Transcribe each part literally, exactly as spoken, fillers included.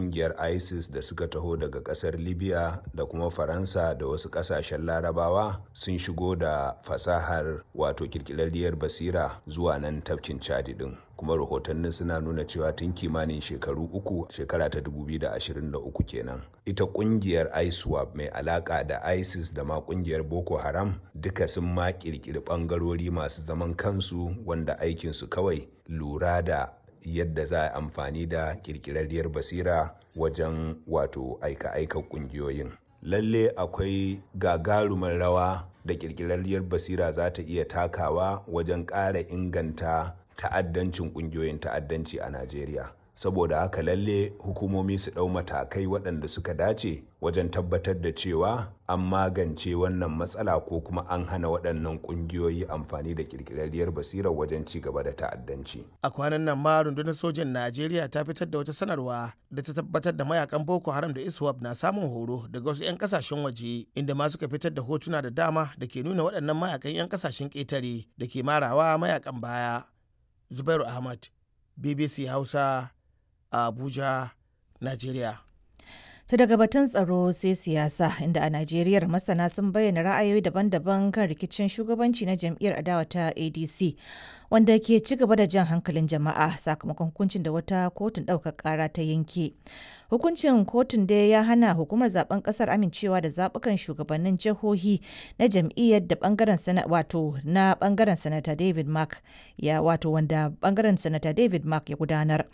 Kungiyar ISIS da suka taho daga kasar Libya da kuma Faransa da wasu kasashen Larabawa sun shigo da fasahar, wato kirkirarriyar basira, zuwa nan tafkin Chadi din. Kuma rahotannin suna nuna cewa tun kimanin shekaru uku, shekara ta dubu biyu da ashirin da uku kenan, ita kungiyar ISWAP mai alaka da ISIS da ma kungiyar Boko Haram duka sun ma kirkiri bangarori masu zaman kansu wanda aikinsu kawai lura da yadda za a amfani da kirkirarriyar basira wajen wato aika-aika kungiyoyin. Lalle akwai gagarumar rawa da kirkirarriyar basira za ta iya takawa wajen ƙara inganta ta'addancin kungiyoyin ta'addanci a Najeriya. Saboda haka lalle hukumomi su ɗau matakai waɗanda suka dace wajen tabbatar da cewa an magance wannan matsala ko kuma an hana waɗannan ƙungiyoyi amfani da ƙirƙirarriyar basirar wajen ci gaba da ta'addanci. A kwanan nan ma rundunar sojan Najeriya ta fitar da wata sanarwa da ta tabbatar da mayakan Boko Haram da ISWAP na samun horo daga wasu 'yan kasashen waje, inda ma suka fitar da hotuna da dama da ke nuna waɗannan mayakan 'yan kasashen ƙetare da ke marawa mayakan baya. Zubairu Ahmad, B B C Hausa, Abuja, Najeriya. To, daga batun tsaro sai siyasa, inda a Najeriya masana sun bayyana ra'ayoyi daban-daban kan rikicin shugabanci na jam'iyyar adawa ta A D C, wanda ke ci gaba da jan hankalin jama'a sakamakon hukuncin da wata kotun ɗaukar ƙara ta yanke. Hukuncin kotun dai ya hana hukumar zaben ƙasar amincewa da zaɓukan shugabannin jihohi na jam'iyyar da bangaren sana wato na bangaren Sanata David Mark ya wato wanda bangaren Sanata David Mark ya gudanar.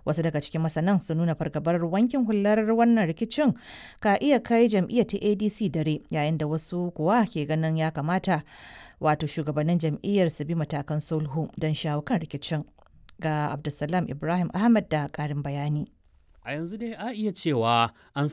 Wasu daga cikin masanan sun nuna fargabar wankin hular wannan rikicin ka iya kai jam'iyyar ta A D C dare, yayin da wasu kuwa ke ganin ya kamata wato shugabannin jam'iyyar su bi matakan sulhu don shawo kan rikicin. Ga Abdulsalam Ibrahim Ahmad da karin bayani. A yanzu dai a iya cewa an